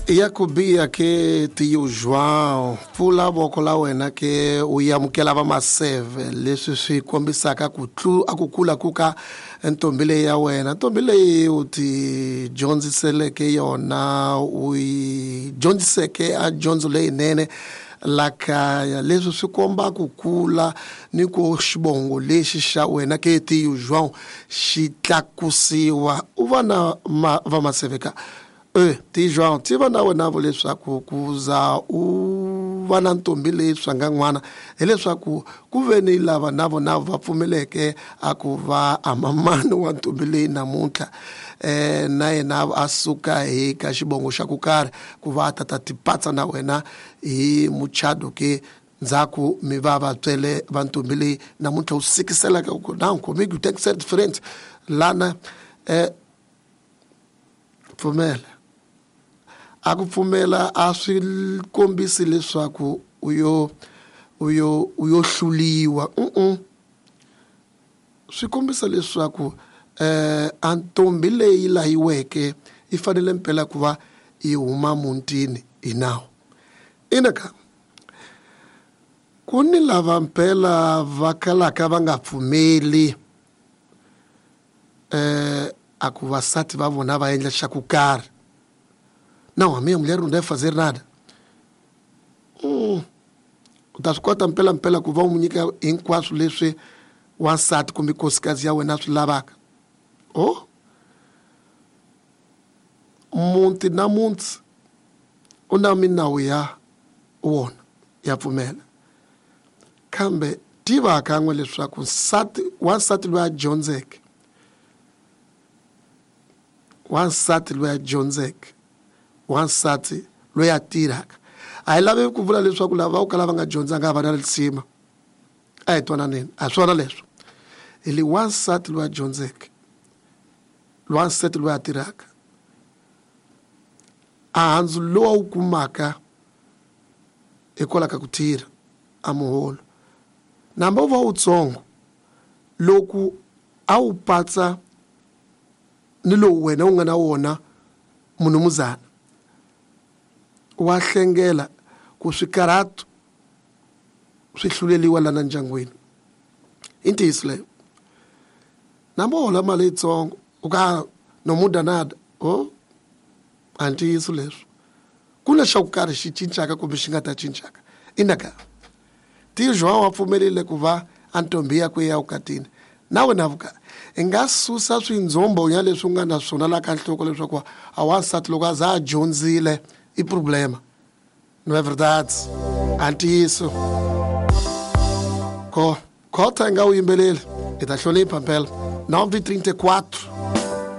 Ya ku biha ke Tio João, pfula voko la wena ke u amukela vamaseve, leswi swi kombisaka ku tlu a ku kula ku ka ntombi leyi ya wena. Ntombi leyi u ti dyondziseleke yona, u yi dyondziseke a dyondzo leyinene la kaya, leswi swi komba ku kula ni ku xivongo lexi xa wena ke Tio João xi tlakusiwa. U va na vamaseve ka Tio João, tiva na wena vo leswaku ku za u va na ntombi leyi swanga n'wana, hileswaku ku ve ni lava na vona va pfumeleke a ku va a mamani wa ntombi leyi namuntlha, na yena a suka hi ka xivongo xa ku karhi ku va a ta tipatsa na wena hi muchato ke ndzhaku mi va vatswele va ntombi leyi namuntlha u sikiselaka ku na comigo tem que ser diferente lana. Pfumela a ku pfumela a swi kombisi leswaku u yo u yo u yo hluliwa, swi kombisa leswaku a ntombi leyi layiweke yi fanele mpela ku va yi huma mutini hi nawu. Ina ka ku ni lava mpela va kalaka va nga pfumeli a ku vasati va vona va endla xa ku karhi. Não, a minha mulher não deve fazer nada. U ta swi kota mpela mpela ku va u n'wi nyika hinkwaswo leswi wansati kumbe nkosikazi ya wena a swi lavaka. Oh, muti na muti u na minawu ya wona ya pfumela, kambe tiva kan'we leswaku wansati loyi a dyondzeke, wansati loyi a dyondzeke, wansati loyi a tirhaka, a hi lavi ku vula leswaku lava va kala va nga dyondzanga a va na risima. A hi twananeni, a hi swona leswo. Hi li wansati loyi a dyondzeke, wansati loyi a tirhaka, a handzu lowu a wu kumaka hikwalaho ka ku tirha a muholo, namba wu va wutsongo loko a wu patsa ni lowu wena u nga na wona munumuzana, wa hlengela ku swikarhato swi hluleliwa lana ndyangwini. I ntiyiso leyo. Namba u hola mali yitsongo u ka no muda nada, oh, a ntiyiso leswo. Ku na xa ku karhi xi cincaka kumbe xi nga ta cincaka. Ina ka Tio João wa pfumerile ku va a ntombi yakwe ya vukatini na wena vuka i nga susa swindzhombonya leswi u nga na swona la ka nhloko leswaku a wansati loko a za a dyondzile i problema. Não é verdade? A ntiyiso. Ko khota i nga wu yimbeleli, i ta hlonipha mpela. 9:34.